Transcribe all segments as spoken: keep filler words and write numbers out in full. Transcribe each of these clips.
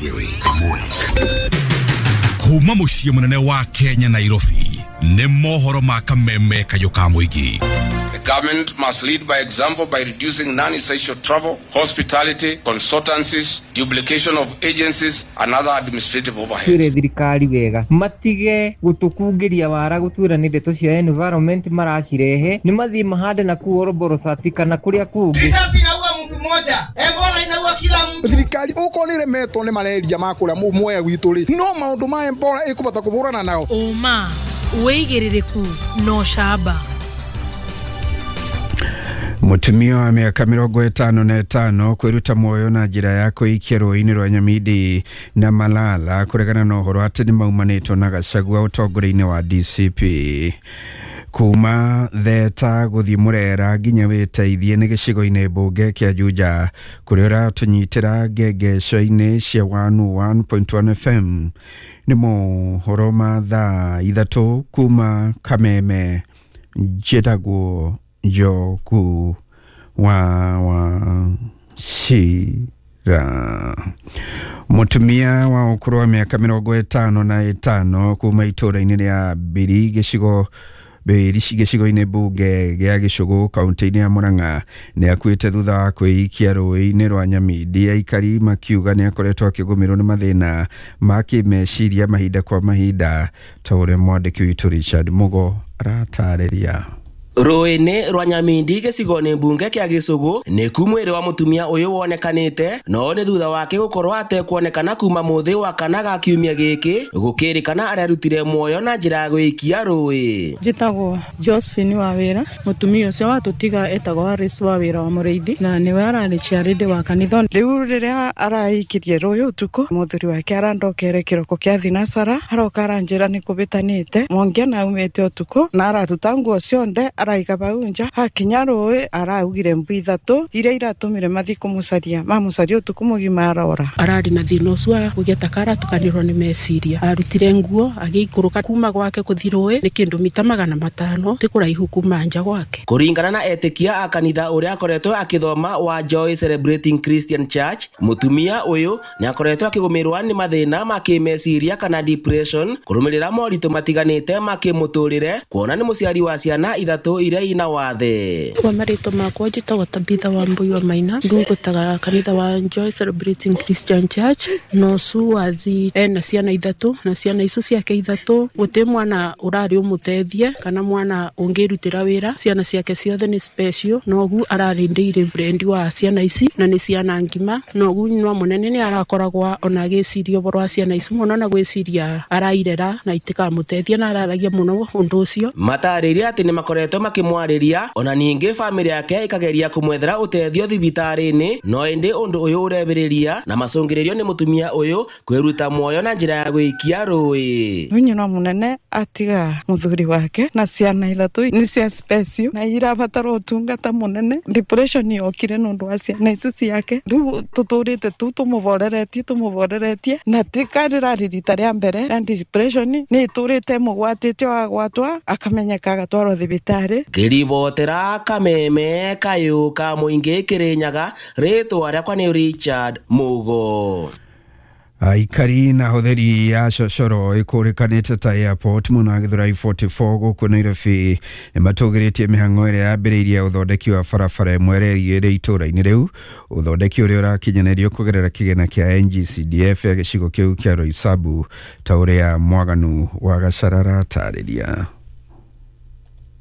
Ĩmwe kuma mũciĩ mũnene wa Kenya, Nairobi, nĩ mohoro ma kameme kayũ ka mũingĩ. The government must lead by example by reducing non-essential travel, hospitality, consultancies, duplication of agencies, and other administrative overheads. Twĩre thirikari wega matige gũtũkungĩria wara gũtwĩra nĩ ndeto cia environment maracirehe, nĩ mathiĩ mahande na kuu Oroborosati kana kũrĩa kũngĩ. Risasi inaua mtu mmoja, Ebola inaua kila mtu. Thirikari okorwo nĩ ĩremetwo nĩ mareria ma kũrĩa mwea gwitũ rĩ, no maũndũ ma Ebola ĩkũbota kũhũrana nao. Ũma, wĩigĩrĩrĩku na ũcamba. Mũtumia wa mĩaka mĩrongo ĩtano na ĩtano kwĩruta muoyo na njĩra ya kwĩikia rũĩ-inĩ rwa Nyamindi na Malala kũregana na ũhoro atĩ nĩ maumanĩtwo na Gachagua ũtongoria-inĩ wa D C P. Kuma Theta gũthiĩ Mũrera nginya Wĩteithie nĩ gĩcigo-inĩ mbunge kĩa Juja kũrĩa ũratũnyitĩra ngengeco-inĩ cia one oh one point one F M. Nĩ mohoro ma thaa ithatũ kuma Kameme. Njĩtagwo Njoku wa Wachira. Mũtumia wa ũkũrũ wa mĩaka mĩrongo ĩtano na ĩtano kuma itũũra-inĩ rĩa Mbiri gĩcigo Mbĩri gĩcigo-inĩ mbunge gĩa Gĩcũgũ kaunti-inĩ ya Murang'a nĩ akuĩte thutha wa kwĩikia rũĩ-inĩ rwa Nyamindi, aikari makiuga nĩ akoretwo akĩgũmĩrwo nĩ mathĩna ma kĩmeciria mahinda kwa mahinda, ta ũrĩa mwandĩki witũ Richard Mugo aratarĩria. Rũĩ-inĩ rwa Nyamindi gĩcigo-inĩ mbunge kĩa Gĩcũgũ nĩku mwĩrĩ wa mũtumia ũyũ wonekanĩte, no nĩ thutha wake gũkorwo atekuonekana kuma mũthĩ wa kana ga kiumia gĩkĩ, gũkĩrĩkana arerutire muoyo na njĩra ya gwĩikia rũĩ. Njĩtagwo Josephine wa wĩra. Mũtumia ũcio watũtiga etagwo Alice wa wĩra wa mũrĩithi na nĩwe ararĩ chairlady wa kanitha. Rĩu rĩrĩa araikirie rũĩ ũtukũ, mũthuri wake arandokere kĩroko kĩa thinacara, aroka aranjĩra nĩ kũbĩtanĩte Mwangi na aumĩte ũtukũ na araruta nguo cionde araiga bau nja. Hakinya rũĩ araugire mbu ithatũ iria iratũmire mathi kũmũcaria, mamũcaria ũtukũ mũgima arora. Ararĩ na thĩna ũcio wa kũgĩa taka aratukanĩrwo nĩ meciria. Arutire nguo agĩikũrũka kuma gwake gũthiĩ rũĩ nĩ kĩndũ mita magana matano, ti kũraihu kuma nja gwake. Kũringana na etĩkia a kanitha ũrĩa akoretwo akĩthoma wa Joy Celebrating Christian Church, mũtumia ũyũ nĩ akoretwo akĩgũmĩrwo nĩ mathĩna ma kĩmeciria kana depression kũrũmĩrĩra moritũ matiganĩte ma kĩmũtũrĩre, kuona nĩ mũciari wa ciana ithatũ iria ina wathe. Kwa marĩtwa makwa njĩtagwo Tabitha wa Mbui wa Maina, ndungataga kanitha wa Joy Celebrating Christian Church. Na ũcu wathi ena ciana ithatũ, na ciana icio ciake ithatũ gũtĩ mwana ũrarĩ ũmũteithie kana mwana ũngĩrutĩra wĩra. Ciana ciake ciothe nĩ special, nogu ararĩ ndĩire friend wa ciana ici na nĩ ciana ngima. Nogu nyina mũnene nĩ arakoragwo ona agĩciria ũhoro wa ciana ici mũno na gwĩciria arairera na itikamũteithia, na araragia mũno ũndũ ũcio. Matarĩria atĩ nĩ makoretwo makĩmwarĩria, ona ningĩ bamĩrĩ yake ĩkageria kũmwethera ũteithio thibitarĩ-inĩ, no ĩndĩ ũndũ ũyũ ũrebĩrĩria na macũngĩrĩrio nĩ mũtumia ũyũ kwĩruta muoyo na njĩra ya gwĩikia rũĩ. Rĩu nyina mũnene atiga mũthuri wake na ciana ithatũ nĩ cia special na irabatara ũtungata mũnene. Depression yokire nĩ ũndũ wa ciana icio ciake. Rĩu tũtũrĩte tu tũmũvoreretie tũmũvoreretie na ti karĩrarĩ rita rĩa mbere na depression nĩ ĩtũrĩte mũgwatĩte, agwatwa akamenyeka agatwarwo thibitarĩ. Ngĩribotera kameme kayũ ka mũingĩ Kĩrĩnyaga, rĩtwa rĩakwa nĩ Richard Mugo. Aikari na ahũthĩri a cocoro ĩkũrĩkanĩte ta Airport mwena wa Gĩthũrai mĩrongo ĩna na nĩ gũkũ Nairobi nĩ matũgĩrĩtie mĩhang'o ĩrĩa yambĩrĩirie ũthondeki wa barabara ĩmwe ĩrĩa ĩrĩ itũũra-inĩ rĩu, ũthondeki ũrĩa ũrakinyanĩrio kũgerera kĩgĩna kĩa N G C D F ya gĩcigo kĩu kĩa Roysambu, ta ũrĩa Mwaganu wa Gacara aratarĩria.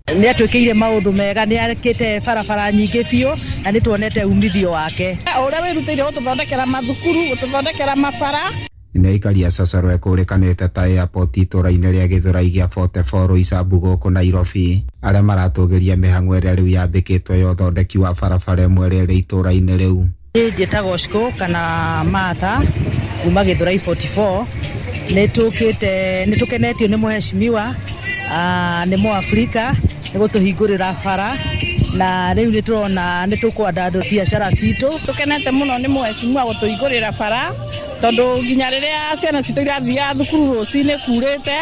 Nĩ atwĩkĩire maũndũ mega, nĩ akĩte barabara nyingĩ biũ na nĩ tuonete umithio wake. Ũrĩa wĩrutĩire gũtũthondekera mathukuru, gũtũthondekera mabara. Nĩ aikari a cocoro ĩkũrĩkanĩte ta Airport itũũra-inĩ rĩa Gĩthũrai gĩa mĩrongo ĩna na nĩ Roysambu gũkũ Nairobi arĩa maratũgĩria mĩhang'o ĩrĩa rĩu yambĩkĩtwo ya ũthondeki wa barabara ĩmwe ĩrĩa ĩrĩ itũũra-inĩ rĩu. Niĩ njĩtagwo Shiko kana Martha kuma Gĩthũrai mĩrongo ĩna na nĩ nĩ tũkĩte, nĩ tũkenetio nĩ mũheshimiwa, nĩ mũafrika, nĩ gũtũhingũrĩra bara na rĩu nĩ tũrona nĩ tũkwandandũra biacara citũ. Tũkenete mũno nĩ mũheshimiwa gũtũhingũrĩra bara, tondũ nginya rĩrĩa ciana citũ irathiaga thukuru rũcinĩ kurĩte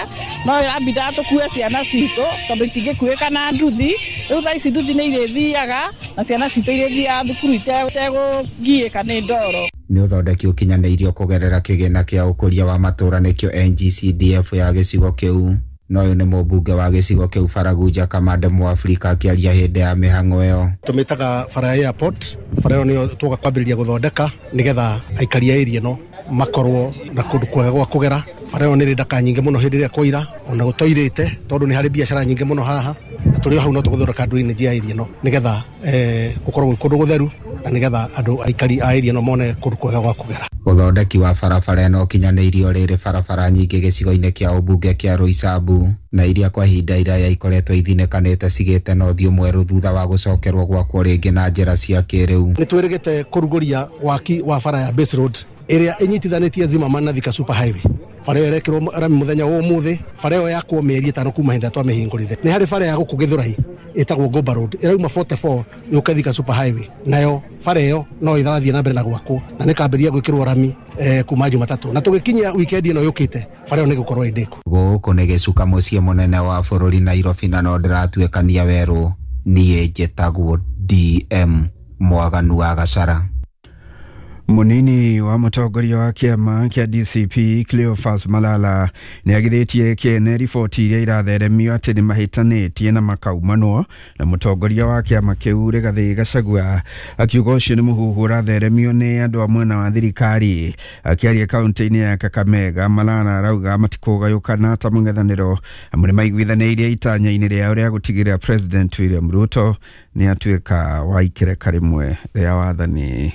no ĩrambindaga tũkue ciana citũ, tondũ itingĩkuĩka na nduthi. Rĩu thaa ici nduthi nĩ irĩthiaga na ciana citũ irĩthiaga thukuru itekũgiĩka nĩ ndoro. Nĩ ũthondeki ũkinyanĩirio kũgerera kĩgĩna kĩa ũkũria wa matũũra nĩkĩo N G C D F ya gĩcigo kĩu. Na ũyũ nĩ mũmbunge wa gĩcigo kĩu Baragunja Kamande Mũafrika akĩaria hĩndĩ ya mĩhang'o ĩyo. Tũmĩtaga bara ya airport, bara ĩyo nĩyo tũgoka kwambĩrĩria gũthondeka nĩgetha aikari a area ĩno makorwo na kũndũ kwega gwa kũgera. Bara ĩyo nĩ ĩrĩ ndaka nyingĩ mũno hĩndĩ ĩrĩa kwaira ona gũtoirĩte tondũ nĩ harĩ biacara nyingĩ mũno haha, na tũrĩ o hau no tũgũthondeka drainage ya area ĩno nĩgetha eh, gũkorwo gwĩ kũndũ gũtheru na nĩgetha andũ aikari a area ĩno mone kũndũ kwega gwa kũgera. Ũthondeki wa barabara ĩno ũkinyanĩirio rĩrĩ barabara nyingĩ gĩcigo-inĩ kĩa ũmbunge kĩa Roysambu na iria kwa ihinda iraya ikoretwo ithinĩkanĩte cigĩte na ũthiũ mwerũ thutha wa gũcokerwo gwakwo rĩngĩ na njĩra cia kĩrĩu. Nĩ twĩrĩgĩte kũrugũria waki wa bara ya Base Road ĩrĩa ĩnyitithanĩtie Zimmerman na Thika Super Highway. Bara ĩyo ĩrekĩrwo rami mũthenya wa ũmũthĩ, bara ĩyo yakwo mĩeri ĩtano kuma hĩndĩ ĩrĩa twamĩhingũrire. Nĩ harĩ bara ya gũkũ Gĩthũrai ĩtagwo Gomba Road ĩrauma forty-four yũke Thika Super Highway, nayo bara ĩyo no ĩrathiĩ na mbere na gwakwo na nĩkambĩrĩria gwĩkĩrwo rami eh, kuma Jumatatũ, na tũgĩkinyia weekend ĩno yũkĩte bara ĩyo nĩgũkorwo ĩndĩku. Gũkũ nĩ gĩcuka mũciĩ mũnene wa bũrũri Nairobi, na no ndĩratuĩkania werũ. Niĩ njĩtagwo D M Mwaganu wa Gachara. Munini wa mũtongoria wa kĩama kĩa D C P Cleophas Malala nĩ agithĩtie kĩene riboti iria iratheremio atĩ nĩ mahĩtanĩtie na makaumanwo na mũtongoria wa kĩama kĩu Rigathĩ Gachagua, akiuga ũcio nĩ mũhuhu ũratheremio nĩ andũ a mwena wa thirikari. Akĩaria kaunti-inĩ ya Kakamega, Malala arauga matikũgayũkana ta mũng'ethanĩro amu nĩ maiguithanĩirie itanya-inĩ rĩao rĩa gũtigĩrĩra President William Ruto nĩ atuĩka wa ikereka rĩmwe rĩa wathani.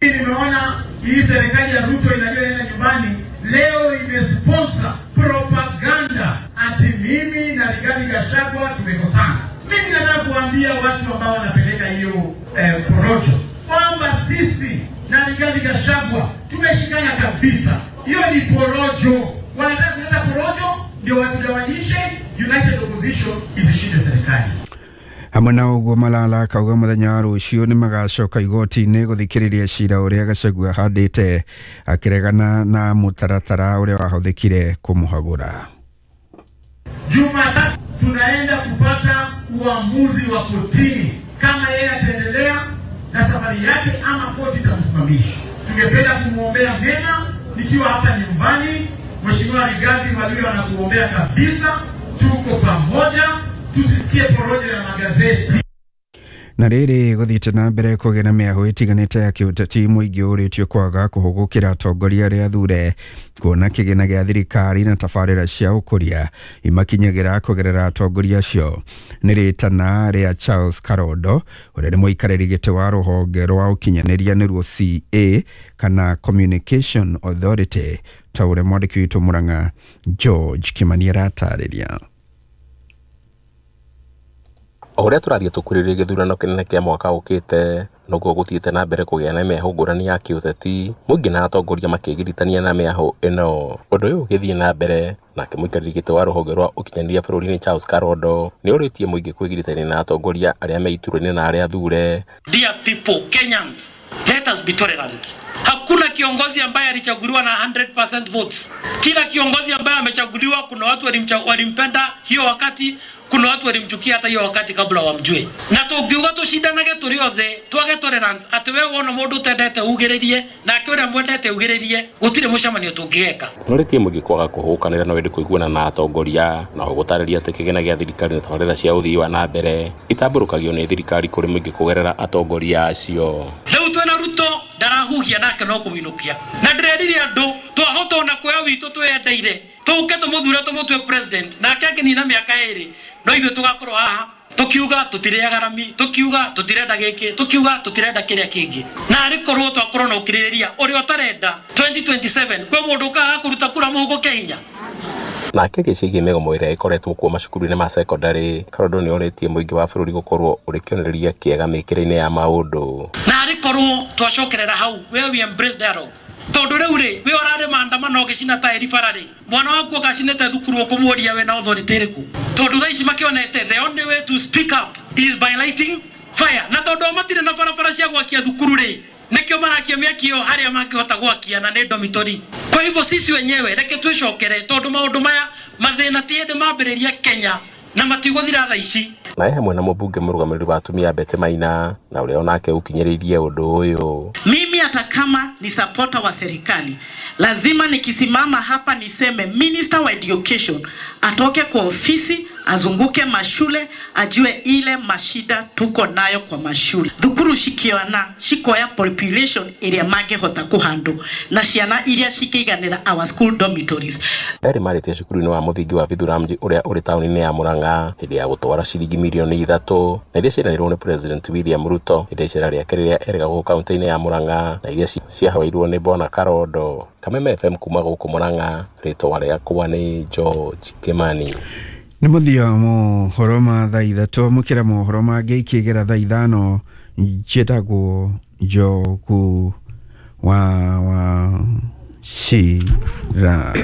Nimeona hii serikali ya Ruto inajua inaenda nyumbani leo imesponsor propaganda ati mimi na Rigathi Gachagua tumekosana. Mimi nataka kuambia watu ambao wanapeleka hiyo eh, porojo kwamba sisi na Rigathi Gachagua tumeshikana kabisa. Hiyo ni porojo. Wanataka kuleta porojo ndio watugawanyishe, United Opposition isishinde serikali. Hamwe na ũguo Malala akauga mũthenya wa rũciũ nĩ magacoka igoti-inĩ gũthikĩrĩria cira ũrĩa Gachagua ahandĩte akĩregana na mũtaratara ũrĩa wahũthĩkire kũmũhagũra. Jumatatu tunaenda kupata uamuzi wa kotini kama yeye ataendelea na safari yake ama koti itamsimamisha. Tungependa kumwombea mema nikiwa hapa nyumbani. Mheshimiwa Rigathi walio anakuombea kabisa, tuko pamoja, tusisikie porojo ya magazeti. Na rĩrĩ gũthiĩte na mbere kũgĩa na mĩahũ ĩtiganĩte ya kĩũteti, mũingĩ ũrĩtio kwaga kũhũgũkĩra atongoria arĩa athure kuona kĩgĩna gĩa thirikari na tabarĩra cia ũkũria imakinyagĩra kũgerera atongoria acio. Nĩ rĩtana rĩa Charles Karondo ũrĩa nĩ mũikarĩri gĩtĩ wa rũhonge rwa ũkinyanĩria nĩruo C A kana Communication Authority, ta ũrĩa mwandĩki witũ Murang'a George Kimani aratarĩria. O ũrĩa tũrathiĩ tũkuhĩrĩirie gĩthurano kĩnene kĩa mwaka ũkĩte, noguo gũthiĩte na mbere kũgĩa na mĩahũ ngũrani ya kĩũteti, mũingĩ na atongoria makĩgiritania na mĩahũ ĩno. Ũndũ ũyũ ũgĩthiĩ na mbere, nake mũikarĩri gĩtĩ wa rũhonge rwa ũkinyanĩria bũrũri-inĩ Charles Karondo nĩ ũrĩtie mũingĩ kwĩgiritania na atongoria arĩa me iturwa-inĩ na arĩa athure. Dear people, Kenyans, let us be tolerant. Hakuna kiongozi ambaye alichaguliwa na hundred percent votes. Kila kiongozi ambaye amechaguliwa, kuna watu walimpenda hiyo wakati, kuna watu walimchukia hata hiyo wakati kabla wamjue. Na tungiuga tushindanage turi othe, twage tolerance ati we wona mundu utendete ugiririe nake uria mwendete ugiririe, gutire mucemanio tungigeka. Nũrĩtie mũingĩ kwaga kũhũkanĩra na wende kũiguana na atongoria, na gũtarĩria atĩ kĩgĩna gĩa thirikari na tabarĩra cia ũthii wa na mbere itambũrũkagio nĩ thirikari kũrĩ mũingĩ kũgerera atongoria acio. Rĩu twĩna Ruto ndarahuhia nake no kũminũkia, na ndĩrerire andũ twahota ona kuoya witũ twĩyendeire tũke tũmũthure tũmũtue president, nake akĩnina mĩaka ĩrĩ no ithuĩ tũgakorwo haha tukiuga tutireaga rami, tukiuga tutirenda giki, tukiuga tutirenda kiria kingi. Na ari korwo twakorwo na ukiririria uria utarenda twenty twenty-seven kwi mundu ukaga kuruta kura muhuko Kenya. Na akĩaria ciĩgiĩ mĩgomo ĩrĩa ĩkoretwo kuo macukuru-inĩ ma sekondarĩ, Karondo nĩ orĩtie mũingĩ wa bũrũri gũkorwo ũrĩ kĩonereria kĩega mĩkĩre-inĩ ya maũndũ. Na arĩ korwo twacokerera hau where we embrace dialogue, tondu riu ri we urare maandamano gicina tairi bara ri mwana waku akacinite thukuru ukumuria we na authority iriku, tondu thaa ici makionete the only way to speak up is by lighting fire. Na tondu matire na barabara cia gwakia thukuru ri nikio marakia mĩaki ĩyo harĩa mangĩhota gwakia na nĩ dormitory. Kwa hivyo sisi wenyewe reke twicokere, tondu maundu maya mathĩna ti hĩndĩ mambĩrĩria Kenya na matigũthira thaa ici. Na hamwe na mũmbunge mũrũgamĩrĩri wa atumia Betty Maina na ũrĩa onake ũkinyĩrĩirie ũndũ ũyũ. Mimi hata kama ni supporter wa serikali, lazima nikisimama hapa niseme Minister wa Education atoke kwa ofisi, azunguke mashule, ajue ile mashida tuko nayo kwa mashule. Thukuru shikiona shikoya population iria mangehota kuhandle na ciana iria cikiiganira our school dormitories. Erĩ marĩtie cukuru-inĩ wa mũthingi wa Vithuramji ũrĩa ũrĩ taũni-inĩ ya Murang'a hĩndĩ ya gũtwara ciringi mirioni ithatũ na iria ciaheanirwo nĩ President William Ruto hĩndĩ ya icera rĩake rĩrĩa erĩga gũkũ kaunti-inĩ ya Murang'a na iria ciahoeirwo nĩ Bwana Karondo. Kameme F M kuma gũkũ Murang'a, rĩtwa rĩakwa nĩ George Kimani. Nĩ mũthia wa mohoro ma thaa ithatũ, amũkĩra mohoro mangĩ ikĩgera thaa ithano. Njĩtagwo Njogu wa wa Shira.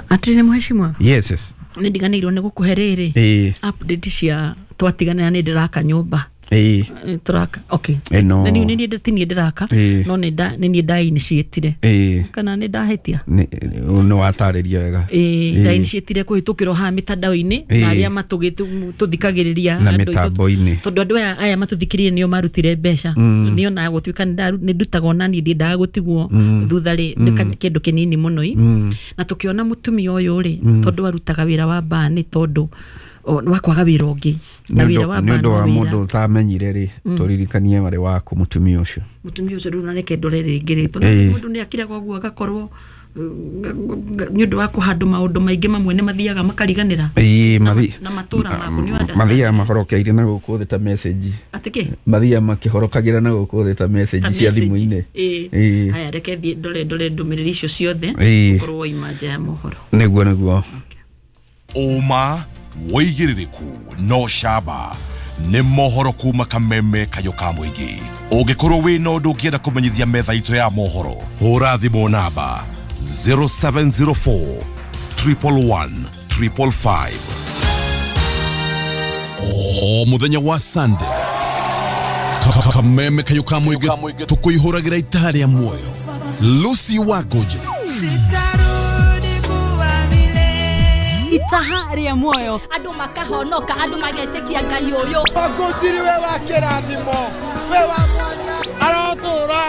Atĩ nĩ mheshimiwa? Yes, yes. Nĩ ndiganĩirwo nĩ gũkũhe rĩrĩ update cia twatiganĩra nĩ ndĩraka nyũmba. Ĩĩ. Tũraka, okay. Ĩno. Na niĩ nĩ niĩ ndĩraka, no nĩ nda nĩ niĩ nda initiatire. Ĩĩ. Kana nĩ ndahĩtia? Nĩ watarĩria wega. Ĩĩ, nda initiatire kũhĩtũkĩrwo haha mĩtandao-inĩ na arĩa matũthikagĩrĩria na mĩtambo-inĩ. Tondũ andũ aya aya matũthikĩrĩirie nĩo marutire mbeca. Nĩo na gũtuĩka nĩ ndutaga ona niĩ ndiendaga gũtigwo thutha rĩ nĩ kĩndũ kĩnini mũno ĩ. Na tũkĩona mũtumia ũyũ rĩ tondũ arutaga wĩra wa baa nĩ tondũ wa kwaga wĩra ũngĩ na wĩra wa nĩ ũndũ wa mũndũ ũtamenyire rĩ tũririkanie warĩ waku mũtumia ũcio. Mũtumia ũcio rĩu na reke ndore rĩngĩ rĩ tondũ mũndũ nĩ akiraga ũguo agakorwo nĩ ũndũ wa kũhandũ maũndũ maingĩ mamwe nĩ mathiaga makariganĩra. Ĩĩ, mathi na matũra maku nĩ understand. Mathiaga mahorokeire na gũkũ thĩ ta message. Atĩ kĩ? Mathiaga makĩhorokagĩra na gũkũ thĩ ta message cia thimũ-inĩ. Ĩĩ. Haya reke thiĩ ndore ndore ndũmĩrĩri icio ciothe ũkorwo waima nja ya mohoro. Nĩguo nĩguo. Ũma wĩigĩrĩrĩku no camba nĩ mohoro kuma Kameme Kayũ ka Mũingĩ. Ũngĩkorwo wĩna ũndũ ũngĩenda kũmenyithia metha itũ ya mohoro, hũra thimũ namba zero seven zero four triple one triple five. O mũthenya wa Sunday, Kameme Kayũ ka Mũingĩ tũkũihũragĩra itaha rĩa muoyo. Lucy Wangũnjĩrĩ itaha rĩa muoyo, andũ makahonoka, andũ magetĩkia Ngai ũyũ. Wangũnjĩrĩ we wa kĩrathimo, we wa mwanya, arotũra.